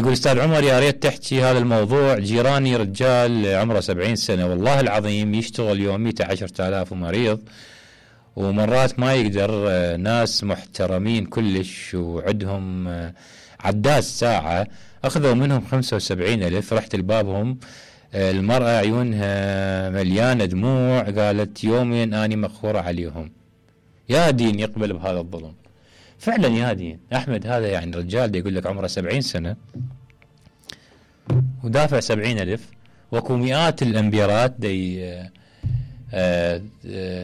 يقول استاذ عمر يا ريت تحكي هذا الموضوع. جيراني رجال عمره 70 سنه والله العظيم يشتغل يوميته 10,000 ومريض ومرات ما يقدر. ناس محترمين كلش وعندهم عداد ساعه اخذوا منهم 75,000. رحت لبابهم المرأة عيونها مليانة دموع قالت يومين أني مقهورة عليهم. يا دين يقبل بهذا الظلم فعلا يا دين. أحمد هذا يعني رجال دا يقول لك عمره 70 سنة ودافع 70,000 وكو مئات الأمبيرات دا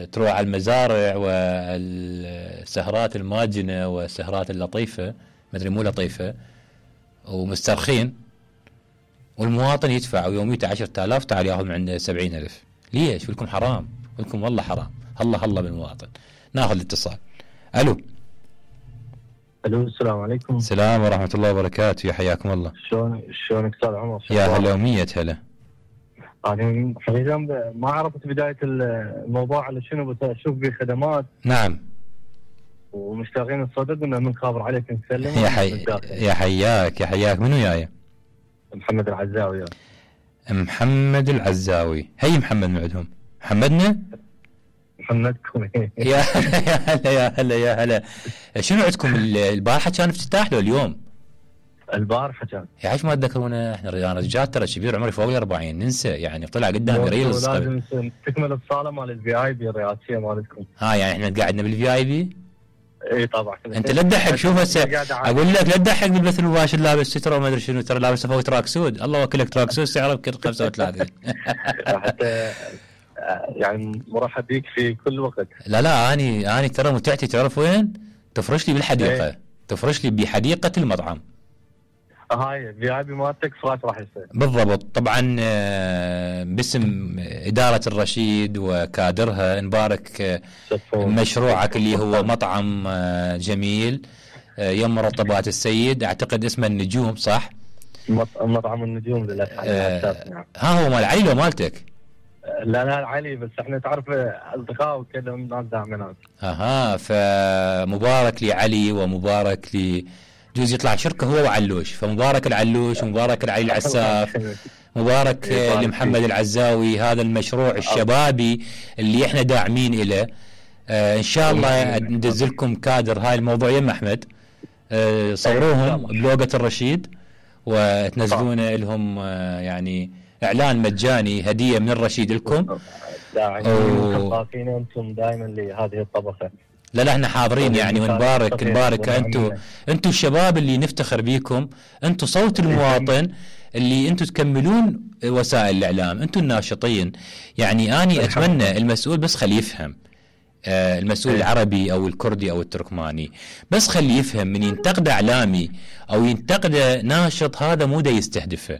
تروح على المزارع والسهرات الماجنة والسهرات اللطيفة مدري مو لطيفة ومسترخين والمواطن يدفع ويوميته 10,000 تعال ياخذ من عنده 70,000. ليش؟ ولكم حرام ولكم والله حرام. هلا بالمواطن. ناخذ الاتصال. الو السلام عليكم. السلام ورحمة الله وبركاته. يا حياكم الله. شلونك استاذ عمر؟ يا هلا ومية هلا. انا حقيقة ما عرفت بداية الموضوع على شنو بس اشوف به خدمات. نعم. ومشتاقين الصدق انه من خابر عليك نسلم. يا حياك منو يايا؟ محمد العزاوي. محمد العزاوي. هي محمد معدهم محمدنا محمدكم. يا هلا. شنو عندكم البارحة كان افتتاح له اليوم؟ البارحة كان. يا عايش ما تذكرونا احنا رجال ترى كبير عمري فوق 40 ننسى يعني طلع قدامي ريلز. لازم تكمل الصالة مال الفي اي بي الرئاسية مالتكم. يعني احنا قاعدنا بالفي اي بي. اي طبعا. انت لا تضحك. شوف هسه اقول لك لا تضحك بالبث المباشر لابس ستره وما ادري شنو ترى لابس فوق تراك سود. الله وكلك تراك سود سعره يمكن 35. حتى يعني مرحب بيك في كل وقت. لا اني ترى متعتي تعرف وين؟ تفرش لي بالحديقه. تفرش لي بحديقه المطعم. هاي في اي بي مالتك فراش راح يصير بالضبط. طبعا باسم إدارة الرشيد وكادرها نبارك مشروعك اللي هو مطعم جميل يم مرطبات السيد. اعتقد اسمه النجوم صح؟ مطعم النجوم للاسف. ها هو مال علي لو مالتك؟ لا علي بس احنا تعرف اصدقاء وكذا ناس داعمينات. فمبارك لعلي ومبارك جوز يطلع شركه هو وعلوش. فمبارك العلوش ومبارك العلي العساف مبارك لمحمد العزاوي. هذا المشروع الشبابي اللي احنا داعمين له. ان شاء الله ندزلكم كادر هاي الموضوع يم احمد. صوروهم بلوجة الرشيد وتنزلون لهم يعني اعلان مجاني هدية من الرشيد لكم. داعمين انتم دائما لهذه الطبقة. لا احنا حاضرين يعني ونبارك انتم الشباب اللي نفتخر بيكم. انتم صوت المواطن اللي انتم تكملون وسائل الاعلام. انتم الناشطين. يعني اني اتمنى المسؤول بس خليه يفهم. المسؤول العربي او الكردي او التركماني بس خليه يفهم من ينتقد اعلامي او ينتقد ناشط هذا مو دا يستهدفه.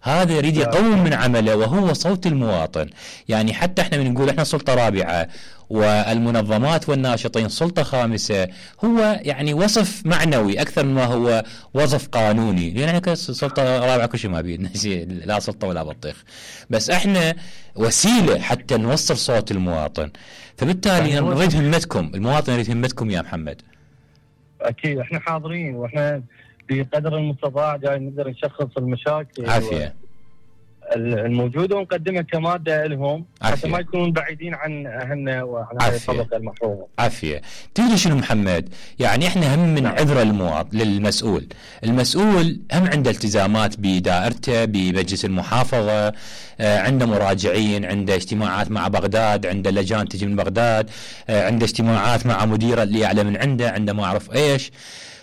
هذا يريد يقوم من عمله وهو صوت المواطن. يعني حتى احنا بنقول احنا سلطة رابعة والمنظمات والناشطين سلطة خامسة. هو يعني وصف معنوي أكثر مما هو وصف قانوني. لأن احنا سلطة رابعة كل شيء ما بيدنا لا سلطة ولا بطيخ. بس احنا وسيلة حتى نوصل صوت المواطن. فبالتالي نريد همتكم. المواطن يريد همتكم يا محمد. أكيد احنا حاضرين واحنا بقدر المستطاع جاي نقدر نشخص المشاكل عافية الموجودة ونقدمها كمادة لهم حتى ما يكونون بعيدين عن أهلنا وعن هذه الطبقة المحرومة. عافية. تدري شنو محمد؟ يعني احنا هم من عذر للمسؤول. المسؤول هم عنده التزامات بدائرته بمجلس المحافظة. عنده مراجعين. عنده اجتماعات مع بغداد. عنده لجان تجي من بغداد. عنده اجتماعات مع مديره اللي أعلى من عنده ما أعرف إيش.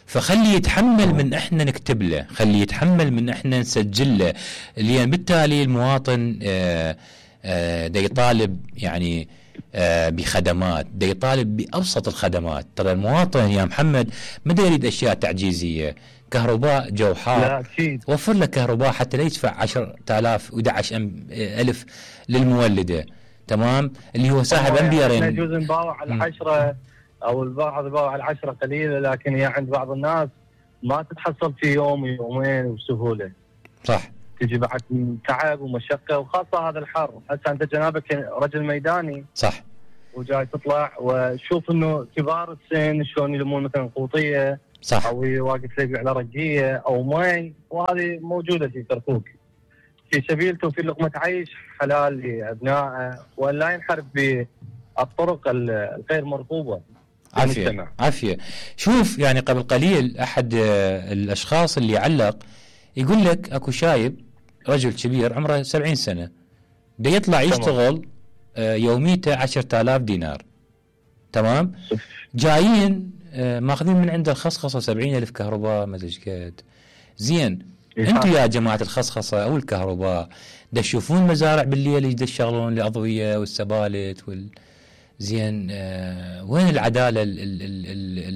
فخلي يتحمل من احنا نكتب له. خلي يتحمل من احنا نسجل له. لأن بالتالي المواطن دا يطالب يعني بخدمات. دا يطالب بأبسط الخدمات. ترى المواطن يا محمد ما دا يريد أشياء تعجيزية. كهرباء جو حار وفر له كهرباء حتى لا يدفع 10,000 و11,000 للمولدة. تمام اللي هو ساحب أمبيرين. يجوز نباوع على 10 او البعض يباوع على 10 قليله لكن هي عند بعض الناس ما تتحصل في يوم يومين بسهوله. صح. تجي بعد تعب ومشقه وخاصه هذا الحر. هسه انت جنابك رجل ميداني. صح. وجاي تطلع وشوف انه كبار السن شلون يلمون مثلا قوطيه صح. او واقف يبيع له رجيه او مي، وهذه موجوده في كركوك في سبيل في لقمه عيش حلال لابنائه، وان لا ينحرف بالطرق الغير مرغوبه. عافيه. شوف يعني قبل قليل احد الاشخاص اللي علق يقول لك اكو شايب رجل كبير عمره 70 سنه بده يطلع يشتغل يوميته 10,000 دينار، تمام؟ جايين ماخذين من عنده الخصخصه 70,000 كهرباء ما ادري قد. زين انتم يا جماعه الخصخصه او الكهرباء دا تشوفون مزارع بالليل يقدر يشغلون الاضويه والسبالت زين وين العداله